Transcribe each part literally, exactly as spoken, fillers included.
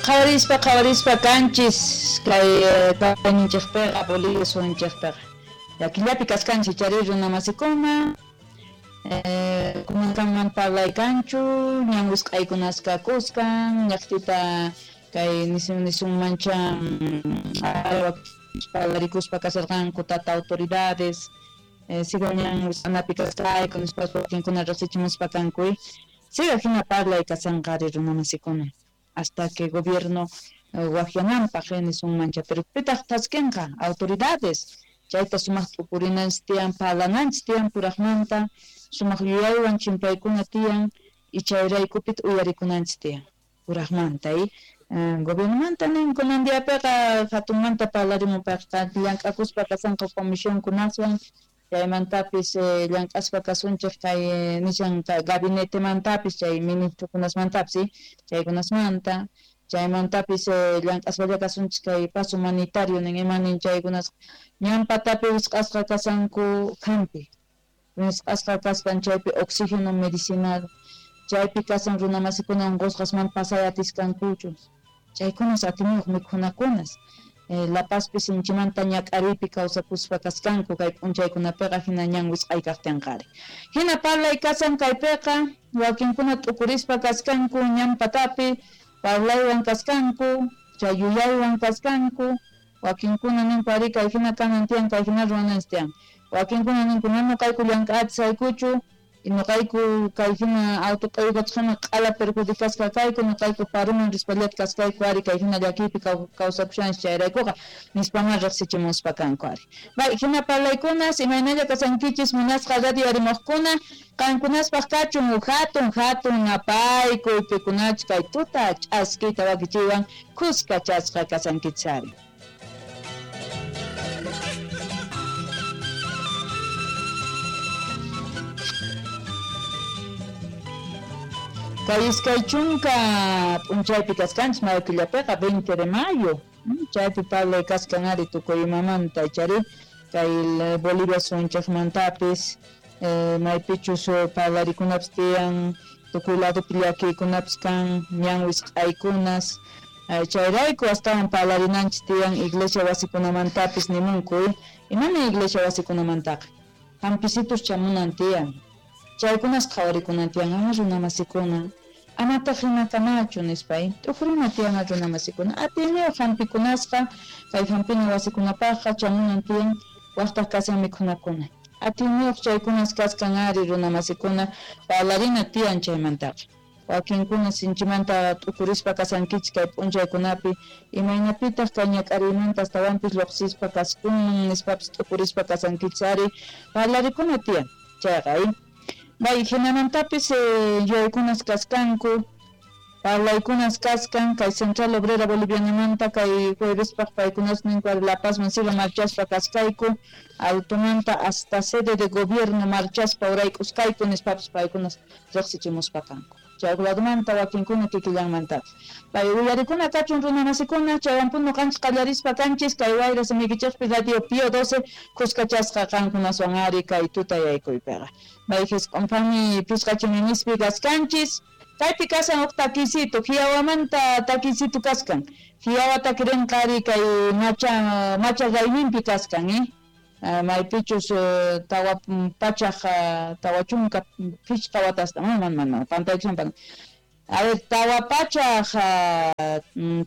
Qhawarispa qhawarispa kanchis kay kayninchikpiqa Bolivia suyunchikpiqa. Llakillapi kaskanchik chari runa masikuna eh, kunankanman parlay kanchu ñan wisq'aykunasqa kuskan ñaqtita kay nisun nisunmancha parlarikuspa kasarqanku tata autoridades eh, siga ñan wisq'anapi kaskayku nispa wakinkuna riqsichimuspa kanku siga hina parlay kasanqari runa masikuna hasta que gobierno waqyananpaq nisunmancha pero pitaq thaskinqa autoridades chayta sumaq t'ukurinanchis tiyan parlananchis tiyan puraqmanta sumaq yuyaywan chimpaykuna tiyan y chayraykupit uyarikunanchis tiyan puraqmanta y gobiernomanta nin kunan diapiqa hatunmanta parlarimunpaqqa llank'akuspa kasanqa comisionkunaswan chaymantapis llank'aspa kasunchik kay nishan gabinetemantapis chay ministrokunasmantapis chaykunasmanta chaymantapis llank'aspalla kasunchik kay paso humanitario nin ima nin chaykunas ñan patapi wisq'asqa kasanku hampi wisq'asqa kaspan chaypi oxígeno medicinal chaypi kasan runa masikuna unqusqasman pasay atiskankuchu chaykunas atiniyuq mikhunakunas Eh, La Pazpi sinchimanta ñak'ariypi kawsakuspa kaskanku kay p'unchaykunapiqa hina ñan wisq'ay kaqtinqari hina parlay kasan kaypiqa wakinkuna t'ukurispa kaskanku ñan patapi parlaywan kaskanku chay yuyaywan kaskanku wakinkuna ninku ari kay hina kanan tiyan kay hina ruwananchis tiyan wakinkuna ninku mana nuqayku llank'atisaykuchu nuqayku kay hina auto q'uyukachqina q'ala perjudicasqa kayku nuqayku paruman rispallata kaskayku ari kay hina llakiypi kawsakushanchis chayraykuqa nispaman riqsichimuspa kanku ari bay hina parlaykunas imaynalla kasankichis munasqa radio arimuqkuna qankunaspaq kachun hatun hatun napaykuy pikunach kay tuta ch'askiyta wakichiywan kuska chasqa kasankichis ari. Kay iskay chunka p'unchaypi kaskanchis mayo killapiqa veinte de mayo chaypi parlay kaskan ari tukuy imamanta chari kay Bolivia suyunchikmantapis eh, maypichus parlarikunapis tiyan tukuy ladopi llakiykunapis kan ñan wisq'aykunas chayrayku astawan parlarinanchis tiyan iglesia wasikunamantapis nimunku imani iglesia wasikunamantaqa hampisitus chamunan tiyan chaykunas qhawarikunan tiyan ama runa masikuna amataq hina kanachu nispay t'ukurina tiyan runa masikuna atiyniyuq hampikunasqa kay hampina wasikunapaqqa chamunan tiyan waqtaq kasan mikhunakuna atiyniyuq chaykunas kaskan ari runa masikuna parlarina tiyan chaymantaqa wakinkuna sinchimanta t'ukurispa kasankichik kay p'unchaykunapi imaynapitaq kay ñak'ariymanta astawanpis lluqsispa kaskunman nispapis t'ukurispa kasankichik ari parlarikuna tiyan chayqa bay hinamantapis yuyaykunas kaskanku parlaykunas kaskan kay Central Obrera Bolivianamanta kay juevespaq paykunas ninku La Pazman siga marchaspa kaskayku altomanta hasta sede de gobierno marchaspa urayk'uskayku nispapis paykunas riqsichimuspa kanku chay ladomanta wakinkuna kikillanmantapis pay uyarikuna kachun runa masikuna chaywanpun nuqanchis qallarispa kanchis kay wayra simiykichikpi Radio Pío doce kuskachasqa qankunaswan ari kay tuta yaykuypiqa bay hisq'unpami pishqa chiminispi kaskanchis kaypi kasan huk takisito Jiawamanta takisito kaskan Jiawa takirinqa ari kay macha macha rayminpi kaskan eh maypichus tawa pachaq tawa chunka phishqa watasta man man man pantaykushan a ver tawa pachaq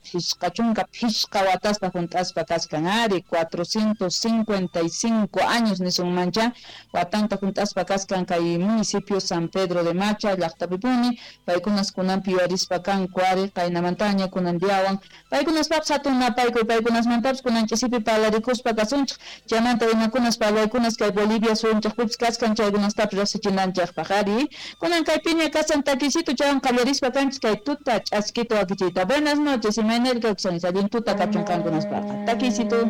phishqa chunka phishqa watasta junt'aspa kaskan ari cuatrocientos cincuenta y cinco años nisunmancha watanta junt'aspa kaskan kay municipio San Pedro de Macha llaqtapipuni paykunas kunanpi yuyarispa kanku ari qaynamantaña kunan diawan paykunaspapis hatun napaykuy paykunasmantapis kunan ch'isipi parlarikuspa kasunchik chaymanta imakunas parlaykunas kay Bolivia suyunchikpipis kaskan chaykunastapis riqsichinanchikpaq ari kunan kaypiña kasan takisito chaywan qallarispa kanchis kay tuta ch'askita wakichiyta. Buenas noches, imaynalla kawsanchis allin tuta kachun qankunaspaqa takisito.